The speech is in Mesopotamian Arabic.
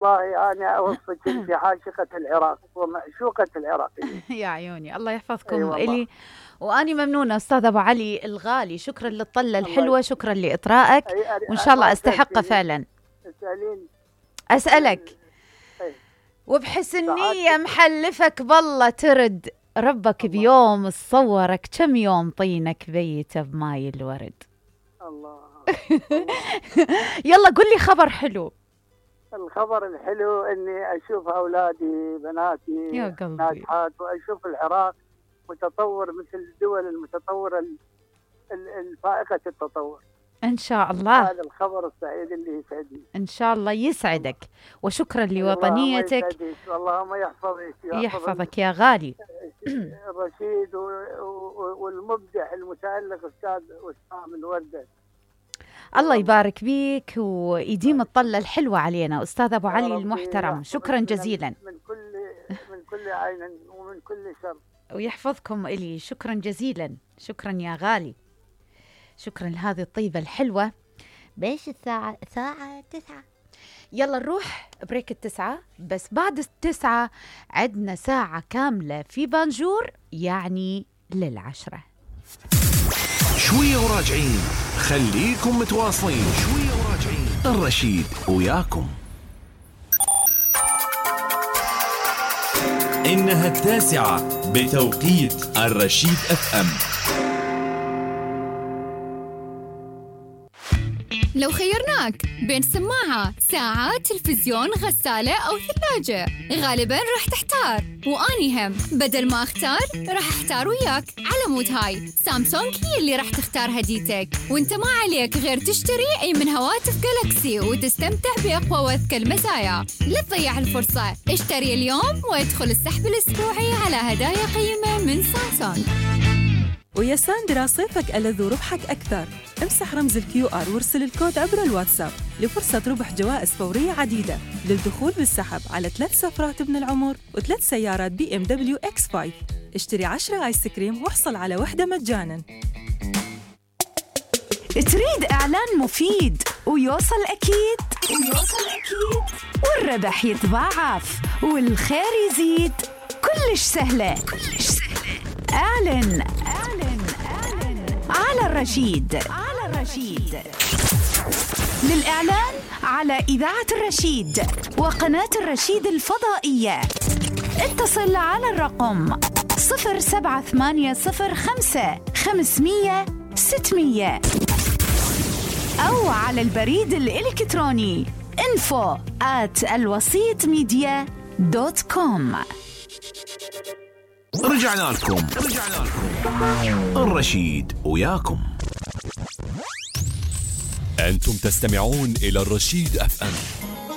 والله أنا أوصيك في عاشقة العراق ومعشوقة العراقيين. يا عيوني، الله يحفظكم. أي والله. إلي وأني ممنونة أستاذ أبو علي الغالي، شكرا للطلة الحلوة، شكرا لإطرائك، وإن شاء الله أستحقه فعلا. أسألك وبحسن نية محلفك بالله ترد ربك بيوم صورك كم يوم طينك بيته بماي الورد. الله. يلا قل لي خبر حلو. الخبر الحلو اني اشوف اولادي بناتي ناجحات، واشوف العراق متطور مثل الدول المتطوره الفائقه التطور ان شاء الله. هذا الخبر السعيد اللي يسعدني. ان شاء الله يسعدك، وشكرا لوطنيتك. اللهم يحفظك. يحفظك يا غالي. الرشيد والمبدع المتألق استاذ وسام الوردة. الله يبارك بيك ويديم الطلة الحلوة علينا أستاذ أبو علي المحترم. شكرا جزيلا من كل عين ومن كل شر، ويحفظكم إلي. شكرا جزيلا، شكرا يا غالي، شكرا لهذه الطيبة الحلوة. بيش الساعة 9. يلا نروح بريك 9، بس بعد 9 عندنا ساعة كاملة في بانجور، يعني لل10. شوية وراجعين، خليكم متواصلين. شوية وراجعين، الرشيد وياكم. إنها 9 بتوقيت الرشيد FM. لو خيرناك بين سماعة، ساعة، تلفزيون، غسالة أو ثلاجة، غالباً راح تحتار. وأني هم بدل ما أختار راح أحتار وياك. على مود هاي سامسونج هي اللي راح تختار هديتك، وانت ما عليك غير تشتري أي من هواتف جالاكسي وتستمتع بأقوى وأذكى المزايا. لا تضيع الفرصة، اشتري اليوم وادخل السحب الأسبوعي على هدايا قيمة من سامسونج. ويا ساندرا صيفك ألذ وربحك أكثر. امسح رمز الQR وارسل الكود عبر الواتساب لفرصة ربح جوائز فورية عديدة للدخول بالسحب على 3 سفرات ابن العمر و3 سيارات BMW X5. اشتري 10 آيس كريم واحصل على واحدة مجاناً. تريد إعلان مفيد ويوصل أكيد والربح يتضاعف والخير يزيد؟ كلش سهلة. اعلن على الرشيد. للإعلان على إذاعة الرشيد وقناة الرشيد الفضائية اتصل على الرقم 07805 أو على البريد الإلكتروني info@alwasitmedia.com. رجعنا لكم. الرشيد وياكم. أنتم تستمعون إلى الرشيد FM.